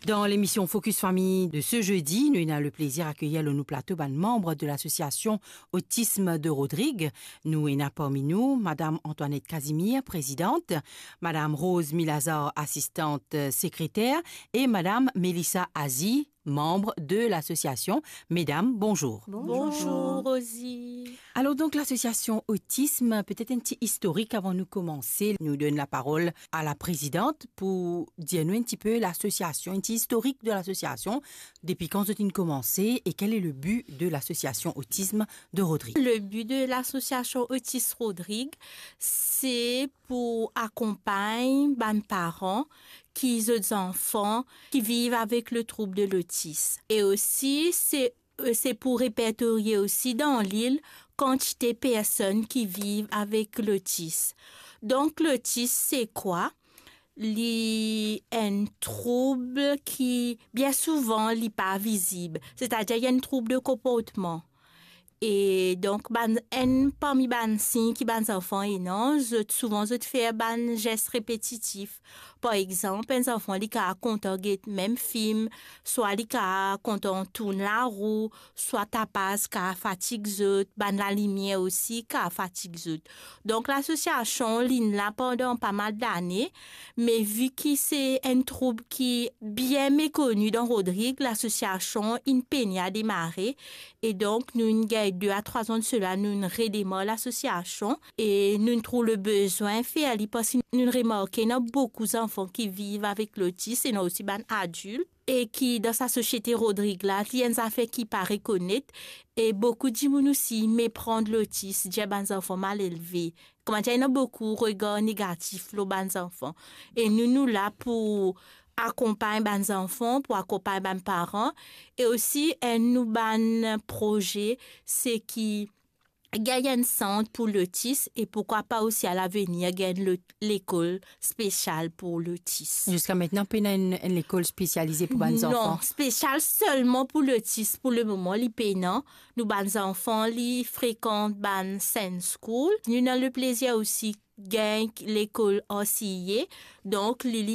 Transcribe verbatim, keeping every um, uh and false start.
Dan lemision Focus Famille de ce jeudi, nou ena le plezir akeyir lor nou plato bann manb de lasosiasion Autisme de Rodrigues. Nou ena parmi nou Madam Antoinette Casimir, prezidant, Madam Rose Milazar, asistant sekreter, e Madam Melissa Azi, manb de lasosiasion. Medam, bonzour. Bonzour, Rosie. Alor donk, lasosiasion Autisme, petet enn ti istorik avan nou komanse. Nou donn laparol a la prezidant pou dir nou enn tipe lasosiasion, enn ti istorik de lasosiasion, depi kan zot inn komanse e quel est le but de l'association Autisme de Rodrigues. Le but de l'association Autisme Rodrigues, se pou akonpagn bann paran ki zot zanfan ki viv avek le trouble de l'autisme. E osi, se, se pou repertorie osi dan lil kantite personn ki viv avek lotis. Donk, lotis, se kwa? Li enn troub ki, bien souvan, li pa vizib. Setadir, li enn troub de konportman. E donk, bann, enn parmi bann sign ki bann zanfan ena, zot, souvan zot fer bann zes repetitif. Par exanp, enn zanfan, li kav kontan get mem fim, swa li kav kontan tourn larou, swa tapaz kav fatig zot, bann lalimier osi kav fatig zot. Donk, lasosiasion, li inn la pandan pa mal dane, me vi ki se enn troub ki bien mekoni dan Rodrig, lasosiasion inn pena demare, e donk, nou inn gagn de a trwa an de sela, nou inn redemar lasosiasion, e nou inn trouv le bezwin fer li, parski nou inn remarke ena boukou zanfan ki viv avek lotis, ena osi bann adilt, e ki dan sa sosiete Rodrig la, li enn zafer ki pa rekonet, e boukou dimoun osi mepran lotis, dir bann zanfan malelve. Kouma dir, ena boukou regar negatif lor bann zanfan. E nou, nou la pou akonpagn bann zanfan, pou akonpagn bann paran, e osi, enn nou bann proze, se ki gagn enn sant pou lotis, e poukwa pa osi a lavenir gagn lo-, lekol spesial pou lotis. Ziska aster, pena enn, enn lekol spesialize pou bann zanfan? Non, spesial selman pou lotis, pou lemoman, li pena. Nou bann zanfan, li frekant bann Sunday School. Nou ena le plezir osi gagn lekol R C I A. Donk, li, li